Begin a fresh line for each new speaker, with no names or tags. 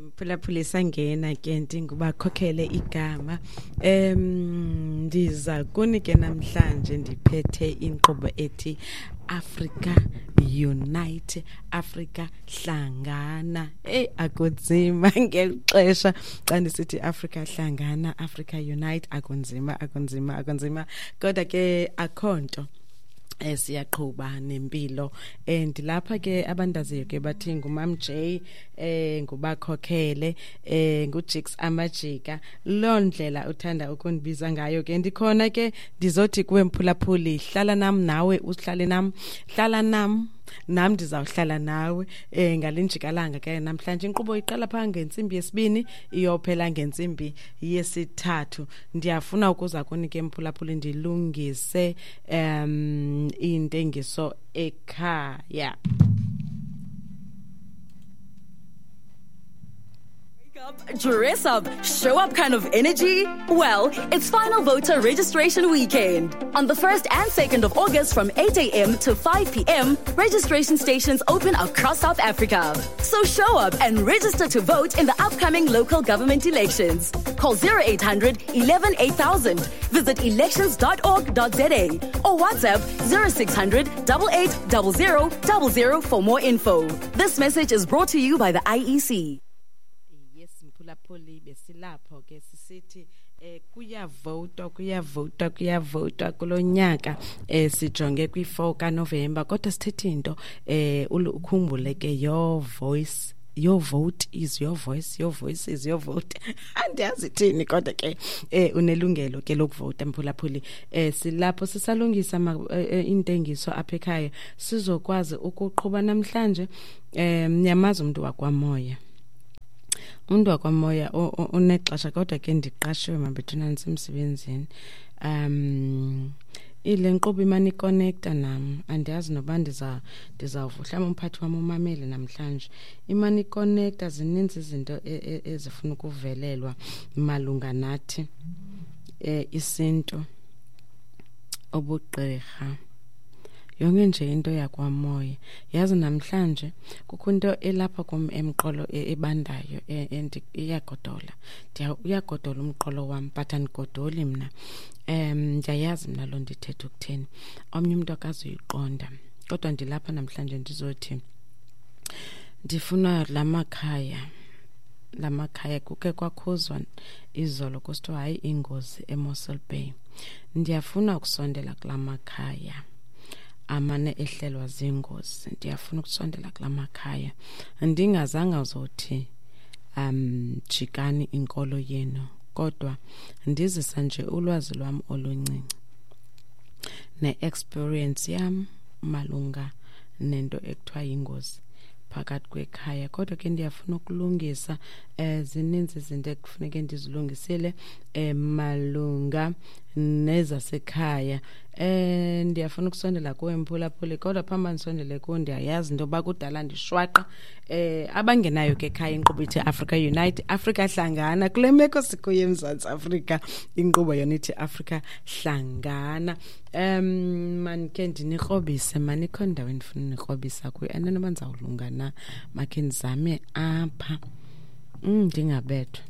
Mphulaphuli, sangena ke ndingubakhokhele igama. Ndiza kuni ke namhlanje ndiphethe inkqubo ethi Africa Unite, Africa Hlangana. Hey, akunzima ngeli xesha xa ndisithi Africa Hlangana, Africa Unite, akunzima, akunzima, akunzima. Kodwa ke akho nto, siyaqhuba nempilo. And lapha ke abandaziyo ke bathi nguMam J, ngubakhokhele, nguJix Amajika, loo ndlela uthanda ukundibiza ngayo ke. Ndikhona ke, ndizothi kuwe mphulaphuli, hlala nam, nawe uhlale nam, hlala nam, nam ndizawuhlala nawe ngalenjikalanga ke namhlanje. Inkqubo iqala phaa ngentsimbi 2 iyophela ngentsimbi 3. Ndiyafuna ukuza kuni ke mphulaphuli ndilungise intengiso ekhaya.
Dress up, show up kind of energy? Well, it's final voter registration weekend. On the 1st and 2nd of August from 8 a.m. to 5 p.m., registration stations open across South Africa. So show up and register to vote in the upcoming local government elections. Call 0800 11 8000, visit elections.org.za or WhatsApp 0600 8800 00 for more info. This message is brought to you by the IEC.
Yes, mphulaphuli, besilapho ke sisithi kuyavotwa, kuyavotwa, kuyavotwa kulo nyaka. Sijonge kwi-4 kaNovemba, kodwa sithethe into, ukhumbule ke, your voice, your vote is your voice, your voice is your vote. Andiyazi thini, kodwa ke unelungelo ke lokuvota, mphulaphuli. Silapho sisalungisa intengiso apha ekhaya, sizokwazi ukuqhuba namhlanje. Niyamazi umuntu wakwamoya, umuntu wakwamoya unexesha, kodwa ke ndiqashiwe mabethuna, ndisemsebenzini. Ile nkqubo imane iconnecta nam, andiyazi noba ndizawuva mhlawumbi umphathi wam umamele namhlanje. Imane iconnecta, zininzi izinto ezifuna ukuvelelwa malunga nathi, isintu, ubugqirha, yonke nje into yakwamoya. Yazi namhlanje kukho into elapha kum emqolo ebandayo, and iyagodola. Uyagodola umqolo wam, but andigodoli mna. Ndiyayazi mna loo nto ithetha ukuthini, omnye umntu akazuyiqonda. Kodwa ndilapha namhlanje ndizothi ndifuna la makhaya, la makhaya kuke kwakhuzwa izolo kusithiwa hayi ingozi eMossel Bay. Ndiyafuna ukusondela kula makhaya amane ehlelwa zingozi, ndiyafuna ukusondela kula makhaya ndingazange uzothi jikani inkolo yenu, kodwa ndizisa nje ulwazi lwam oluncinci ne-experience yam malunga nento ekuthiwa yingozi phakathi kwekhaya. Kodwa ke ndiyafuna ukulungisa, zininzi izinto ekufuneke ndizilungisile malunga nezasekhaya. Ndiyafuna ukusondela kuwe mphulaphuli, kodwa phambi ndisondele kuwe ndiyayazi into yoba kudala ndishwaqa. Abangenayo ke ekhaya, inkqubo ithi Africa Unite, Africa Hlangana. Kule meko sikuyo eMzantsi Afrika, inkqubo yona ithi Africa Hlangana. Mandikhe ndinikrobise, manikho indawo endifuna unikrobisa kuyo, and noba ndizawulunga na, makhe ndizame apha, ndingabethwa.